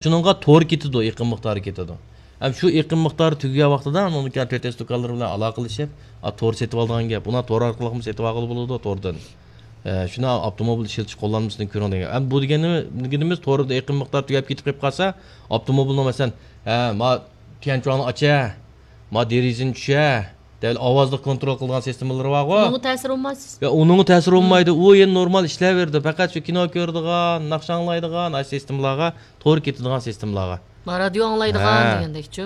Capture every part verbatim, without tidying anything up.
شۇنىڭغا تور كېتىدۇ، ئېقىم مىقدارى كېتىدۇ. ھەم شۇ ئېقىم مىقدارى تۈگىگەن ۋاقتىدا ئۇنىڭدىن كېيىن تۆت ئەس دۇكانلىرى بىلەن ئالاقىلىشىپ، ئا، تور سېتىۋالىدىغان گەپ. ئۇلار تور ئارقىلىقمۇ سېتىۋالغىلى بولىدۇ، توردىن. ئە، شۇنى ئاپتوموبىل ئىشلىتىش قوللانمىسىدىن كۆرۈڭ دېگەن. ئەمدى بۇ دېگىنىمىز، توردا ئېقىم مىقدارى تۈگەپ كېتىپ قېلىپ قالسا، ئاپتوموبىلنىڭ مەسىلەن، ھە، ما تيەنچۇاڭنى ئاچە، ما دېرىزىنى چۈشە، دەل ئاۋازلىق كونترول قىلىدىغان سىستېمىلىرى بارغۇ. ئۇنىڭغا تەسىر بولمايسىز. يا، ئۇنىڭغا تەسىر بولمايدۇ. ئۇ يەنە نورمال ئىشلەۋېرىدۇ. پەقەت شۇ كىنو كۆرىدىغان، ناخشا ئاڭلايدىغان، ئاشۇ سىستېمىلارغا تور كېتىدىغان سىستېمىلارغا. ما رادىيو ئاڭلايدىغان ھە. دېگەندەكچۇ.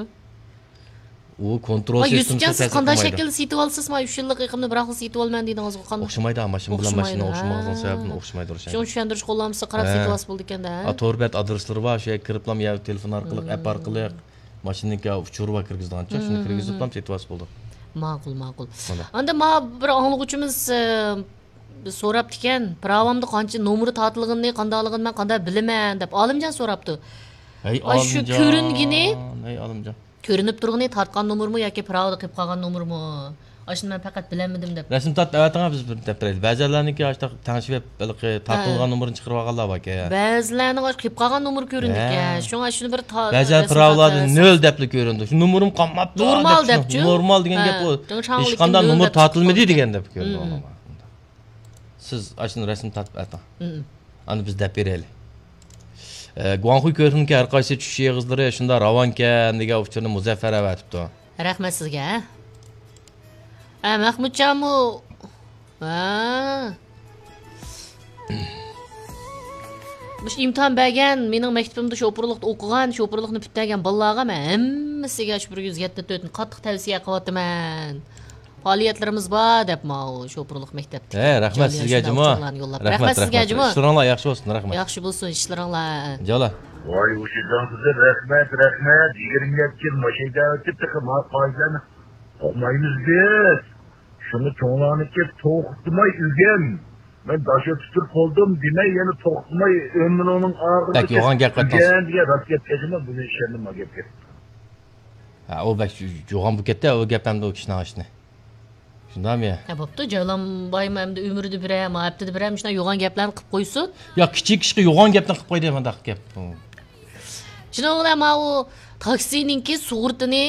ئۇ كونترول ۋاي، سىستېمىسى يۈسۈپجان، سىز تەسىر قانداق قىلمايدۇ. شەكىلدە سېتىۋالىسىز؟ ما ئۈچ يىللىق ئېقىمنى بىراقلا سېتىۋالىمەن دېدىڭىزغۇ، قانداق؟ ئوخشىمايدۇ، ماشىنا بىلەن ماشىنا ئوخشىمايدۇ، ھە. سەۋەبىدىن ئوخشىمايدۇ ئوخشايدۇ. شۇڭا چۈشەندۈرۈش قوللانمىسى قاراپ ھە. سېتىۋالسا بولىدىكەن-دە، ھە. ئا، تور بەت ئادرېسلىرى بار، شۇ يەرگە كىرىپلا يا تېلېفون ئارقىلىق، ئەپ ئارقىلىق، ماشىنىنىڭكى ئۇچۇرى بار كىرگۈزىدىغانچە، شۇنى كىرگۈزۈپلا سېتىۋالسا بولىدۇ. ماقۇل، ماقۇل. ئاندىن ما بىر ئاڭلىغۇچىمىز، ئە، سوراپتىكەن، پىراۋامدا قانچە نومۇرى تارتىلغىنىنى، قانداقلىقىنى مەن قانداق بىلىمەن دەپ. ئالىمجان سوراپتۇ. ھەي، ئاشۇ ئالىمجان. كۆرۈنگىنى ھەي، ئالىمجان. كۆرۈنۈپ تۇرغىنى تارتقان نومۇرمۇ ياكى پىراۋىدا قېلىپ قالغان نومۇرمۇ؟ ئاشۇنى مەن پەقەت بىلەلمىدىم دەپ. رەسىم تارتىپ ئەۋەتىڭە، بىز بىر دەپ بېرەيلى. بەزىلەرنىڭكى ئاشۇنداق تەڭشىۋېپ، ھېلىقى تارتىلغان ھە. نومۇرنى چىقىرىۋالغانلار باركەن. بەزىلەرنىڭ ئاشۇ قېلىپ قالغان نومۇرى كۆرۈنىدىكەن. ھە. شۇڭا شۇنى بىر تا-، بەزىلەر رەسىم پىراۋىلاردا تارتىپ نۆل دەپلا كۆرۈنىدۇ. شۇ نومۇرۇم قالماپتۇ نورمال دەپ دەپچۇ. نورمال دېگەن ھە. گەپ ئۇ. ھېچقانداق نومۇر تارتىلمىدى دېگەن دەپ كۆرۈنىدۇ. سىز ئاشۇنى رەسىم تارتىپ ئەتىڭ. ئاندىن بىز دەپ بېرەيلى. ئە، گۇاڭخۇي كۆۋرۈكنىڭكى ھەر قايسى چۈشۈش ئېغىزلىرى شۇنداق راۋانكەن دېگەن ئۇچۇرنى مۇزەففەر ئەۋەتىپتۇ. رەھمەت سىزگە. ھە، مەخمۇتجانمۇ؟ ھە. مۇشۇ ئىمتىھان بەرگەن، مېنىڭ مەكتىپىمدە شوپۇرلۇقتا ئوقۇغان، شوپۇرلۇقنى پۈتتۈرگەن بالىلارغا مەن ھەممىسىگە شۇ بىر يۈز يەتتە تۆتنى قاتتىق تەۋسىيە قىلىۋاتىمەن. پائالىيەتلىرىمىز بار دەپ ماۋۇ شوپۇرلۇق مەكتەپتىكى ھە، رەھمەت جالىيان سىزگە، شۇنداق جۇمۇ. ئۇچۇرلارنى يوللاپ. رەھمەت، رەھمەت سىزگە، رەھمەت. جۇمۇ. ئىشلىرىڭلار ياخشى بولسۇن، رەھمەت. ياخشى بولسۇن ئىشلىرىڭلار. جالا. ۋاي، ۋۇشىجان قىزى، رەھمەت، رەھمەت. يىگىرمە يەتتە يىل ماشىنا ھەيدەپ كەتتى، ما قائىدىلەرنى ئۇقمايمىز بىز. شۇڭا چوڭلارنىكى توختىماي ئۆگەن. مەن داش ئۆتۈپ تۇرۇپ بولدۇم دېمەي، يەنە توختىماي ئۆمرۈڭنىڭ ئاخىرىغىچە بەك يوغان گەپ قىلىپتىڭىز. ئۆگەن دېگەن راست گەپ ئىكەن، ما گەپكە. ھە، ئۇ بەك يوغان بولۇپ كەتتى، ئۇ گەپ ئەمدى ئۇ كىشىنىڭ ئىشىنى. شۇنداقمۇ؟ ھە، بوپتۇ، جايلانبايمۇ ئەمدى ئۆمرىدە بىرەر، ما ھەپتىدە بىرەر مۇشۇنداق يوغان گەپلەرنى قىلىپ قويسۇن. يا، كىچىك كىشىگە يوغان گەپنى قىلىپ قويدى، مۇنداق گەپ. شۇنىڭ بىلەن ماۋۇ تاكسىنىڭكى سۇغۇرتىنى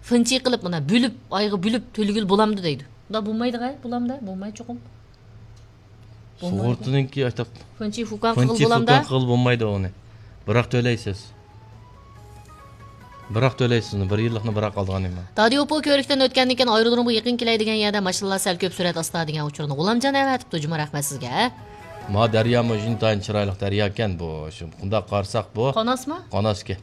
فىنچى قىلىپ، مانا بۆلۈپ، ئايغا بۆلۈپ تۆلىگىلى بولامدۇ دەيدۇ. ئۇنداق بولمايدىغۇ، بولامدا؟ بولماي چوقۇم. بولمايدۇ. سۇغۇرتىنىڭكى ئاشتاق فىنچى فۇكان قىلغىلى فىنچى بولامدا؟ فۇكان قىلغىلى بولمايدۇ ئۇنى. بىراق تۆلەيسىز. بىراق تۆلەيسىز ئۇنى، بىر يىللىقنى بىراق ئالىدىغان نېمە. دادىيوپو كۆۋرۈكتىن ئۆتكەندىن كېيىن ئايرودرومغا يېقىن كېلەي دېگەن يەردە ماشىنىلار سەل كۆپ سۈرئەت ئاستا دېگەن ئۇچۇرنى غۇلامجان ئەۋەتىپتۇ، جۇمۇ رەھمەت سىزگە. ما دەريامۇ ئىنتايىن چىرايلىق دەرياكەن بۇ. شۇ، بۇنداق قارىساق بۇ. قاناسمۇ؟ قاناسكەن.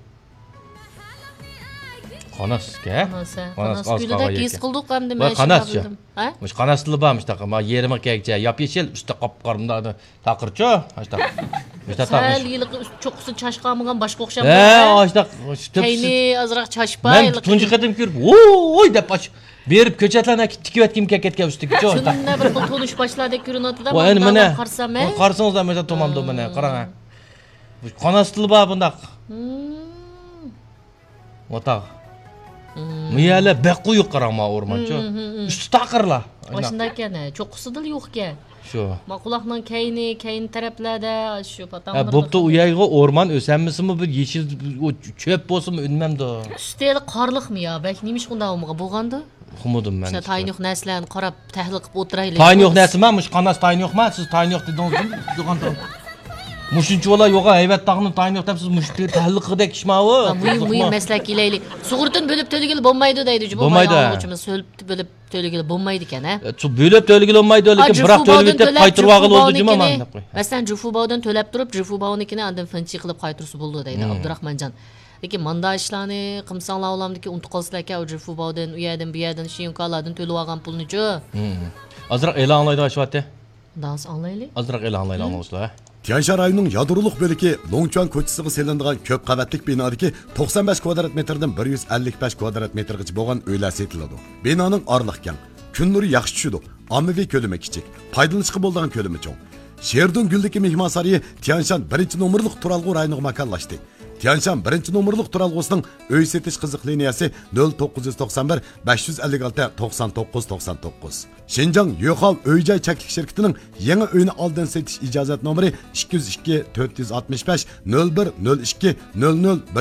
قاناسكەن؟ قاناس، ھە؟ قاناس، قاناس قاناس ئاز كۆلىدەك قالغان ھېس يەركەن. قىلدۇق ئەمدى، ۋاي، مەن قاناس شۇنداق شۇ. بىلدىم. ھە؟ مۇشۇ قاناسلا بار، مۇشۇنداق، ما يېرىمى كەگچە، ياپيېشىل، ئۈستى قاپقارا، مۇنداق تاقىرچۇ، ئاشتاق. مۇشۇنداق سەل تاقىر. ھېلىقى ئۈست چوققىسى چاچقانمىغان باشقا ئوخشاپ ھە، تۇرغان. ئاشتاق، ئۈستى كەينى ئازراق چاچپاي، مەن ھېلىقى تۇنجى قېتىم كۆرۈپ، ۋوي دەپ ئاش-، بېرىپ كۆچەتلەرنى تىكىۋەتكۈم كەپ كەتكەن ئۈستىگىچۇ، ئاشتاق. شۇنداق بىر خىل تونۇش باشلاردەك كۆرۈنۈۋاتىدۇ، ۋاي، ئەنە مۇنداق مانا. قارىسام، ھە؟ قارىسىڭىزلار، مانا تومامدا مانا، قاراڭ، ھە. مۇشۇ قاناسلا بار بۇنداق. ھىم. ۋاتاغ. مۇ يەرلەر بەك قويۇق قاراڭ، ما ئورمانچۇ. ئۈستى تاقىرلا. ئاشۇنداق ئىكەن، ھە، چوققىسىدىلا يوقكەن. شۇ. ما قۇلاقنىڭ كەينى، كەينى تەرەپلەردە، شۇ پاتاڭ ھە، بوپتۇ، ئۇ يەرگە ئورمان ئۆسەلمىسىمۇ، بىر يېشىل، ئۇ چۆپ بولسىمۇ ئۈنمەمدۇ. ئۈستى ھېلى قارلىقمۇ يا؟ بەك نېمىشقا ئۇنداق بولمىغان بولغاندۇ؟ ئۇقمىدىم مەن. شۇنداق تايىنى يوق نەرسىلەرنى قاراپ، تەھلىل قىلىپ ئولتۇرايلى. تايىنى يوق نەرسىمۇ؟ مۇشۇ قاناس تايىنى يوقما؟ سىز تايىنى يوق دېدىڭىزمۇ؟ يوغان تۇرۇڭ. مۇشۇنچە بالا يوغان ھەيۋەت تاغنىڭ تايىنى يوق دەپ، سىز مۇشۇ تەھلىل قىلغۇدەك ئىشما ئۇ؟ ھە، مۇھىم، مۇھىم مەسىلە كېلەيلى. سۇغۇرتىنى بۆلۈپ تۆلىگىلى بولمايدۇ دەيدۇ، جۇمۇ. بولمايدۇ. بايا ئاڭلىغۇچىمىز سۆلۈپ بۆلۈپ تۆلىگىلى بولمايدىكەن، ھە؟ ئە، سۇ بۆلۈپ تۆلىگىلى بولمايدۇ، لېكىن بىراق تۆلىۋېتىپ قايتۇرۇۋالغىلى بولىدۇ، جۇمۇ، مانا دەپ قوي. مەسىلەن، جۇفۇباۋدىن تۆلەپ تۇرۇپ، جۇفۇباۋنىڭكىنى ئاندىن فىنچى قىلىپ قايتۇرسا بولىدۇ دەيدۇ ئابدۇراخمانجان. لېكىن ماندا ئىشلارنى قىلمىساڭلار ئۇلامدىكى ئۇنتۇپ قالىسىلەركەن، ئۇ جۇفۇباۋدىن، ئۇ يەردىن، بۇ يەردىن، شيىنكالاردىن تۆلىۋالغان پۇلنىچۇ. ئازراق ئېلان ئاڭلايدىغان ئىش بارتى. داڭسا ئاڭلايلى. ئازراق ئېلان ئاڭلايلى، ئاڭلىغۇچىلار. تيەنشان رايونىنىڭ يادرولۇق بۆلىكى لوڭچۈەن كوچىسىغا سېلىنىدىغان كۆپ قەۋەتلىك بىنادىكى توقسان بەش كۋادرات مېتىردىن بىر يۈز ئەللىك بەش كۋادرات مېتىرغىچە بولغان ئۆيلەر سېتىلىدۇ. بىنانىڭ ئارىلىقى كەڭ، كۈن نۇرى ياخشى چۈشىدۇ، ئاممىۋى كۆلىمى كىچىك، پايدىلىنىشقا بولىدىغان كۆلىمى چوڭ. شېردۇڭ گۈلدىكى مېھمانسارىيى تيەنشان بىرىنچى نومۇرلۇق تۇرالغۇ رايونىغا ماكانلاشتى. تيەنشان بىرىنچى نومۇرلۇق تۇرالغۇسىنىڭ ئۆي سېتىش قىزىق لىنىيەسى نۆل توققۇز يۈز توقسان بىر، بەش يۈز ئەللىك ئالتە، توقسان توققۇز، توقسان توققۇز. شىنجاڭ يوخاۋ ئۆي جاي چەكلىك شىركىتىنىڭ يېڭى ئۆينى ئالدىن سېتىش ئىجازەت نومۇرى ئىككى يۈز ئىككى، تۆت يۈز ئاتمىش بەش، نۆل بىر، نۆل ئىككى، نۆل نۆل، بىر